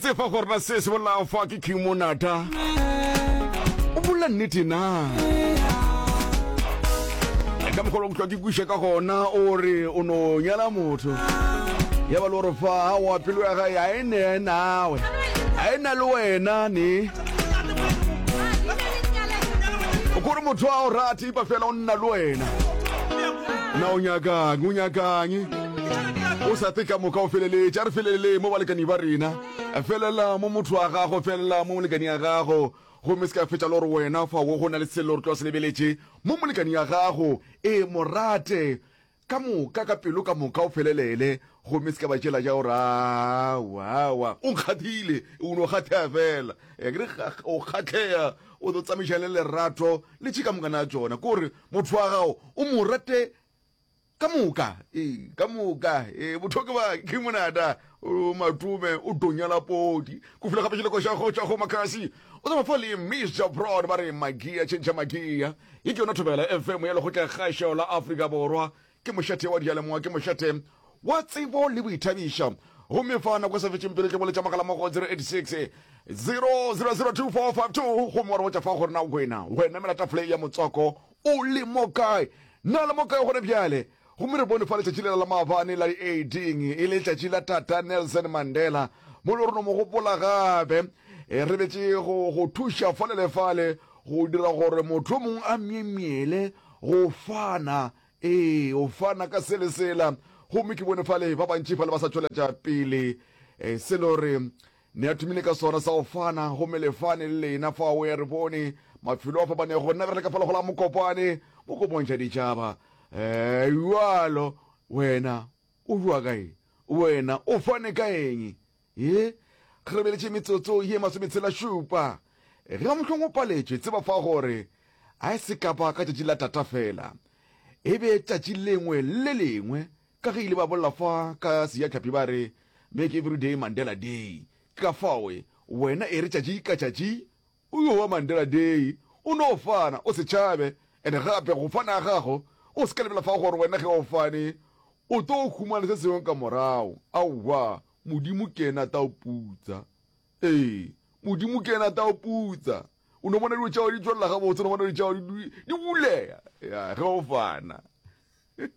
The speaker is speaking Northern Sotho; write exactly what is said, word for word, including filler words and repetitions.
tsefa gore na se se bolelago fa ke King Monata o bolela nnete na ka mokgwa o hlwa ke kwiša ka gona o re o no nyala motho ya ba le gore fa wa pelo ya gae a e ne nawe a e na le wena ne o kore motho a o rate ipa fela o nna le wena na o nyakang o nyakang o sa te ka moka o feleletše a re felelele mo balekani ba rena felela mo motho wa gago felela mo molekani ya gago gomme se ka fetša le gore wena fa wo go na le selo re tlo se lebeletše mo molekani ya gago e morate ka moka ka pelo ka moka o felelele gomme se ka ba tšela ja gore awa o nkgathile o no kgathea fela kere o kgatlhea o tlo tsamaiša le lerato le tše ka mokana ya tšona ke gore motho wa gago o mo rate ka moka ee ka moka ee botho ke ba ke monata o matome o donyala podi ko fila gape tšheleko xa go tšwa go makasi o tsamaya fa le Mr Broad ba re magia tšhentšha magia ye ke yona Thobela F M ya lekgotla kgašo la Afrika Borwa ke mošate wa diyalemoya ke mošate wa tsebo le boithabišo gomme fa nako e sa fetšeng pele ke boletša mogala mo go zero eight six zero zero zero two four five two gomme wa re botša fa gore na wena wena mela tafole ya motswako o le mo kae na le mo kae gone bjale gomme re bone fa letšatši lela la maabane la di eighteen e le letšatši la tata Nelson Mandela mo le gore no mo gopola gape e re betše go go thuša fale le fale go dira gore motho o mongwe a myemyele go fana ee o fana ka sele sela gomme ke bone fale ba bantši fale ba sa tšweletša pele e, selo re ne a thomile ka sona sa go fana gomme le fane le lena fa o ya re bone mafelo a fapanego nna re le ka fala go la Mokopane mo ko bontšha ditšhaba um jalo wena o bua kae wena o fane ka eng ye ge re beletše metsotso ye masometshela šupa ge mohlong o paletšwe tseba fa gore a e se kapa ka tšatši la tata fela e be tšatši lengwe le lengwe ka ge ile ba bolela fa ka sejatlhapi ba re make every day Mandela Day ka fawe wena e re tšatši ka tšatši o yo wa Mandela Day o no fana o se tšhabe ande gape go fana ga gago o se ka lebela fa gore wena ge o fane o tlo humana se sengwe ka morago aowa modimo ke ena ta o putsa ee modimo ke ena ta o putsa o no bona dilo tšao di tswelela gabotse o no bona dilo tšao di di buleya ya ge o fana.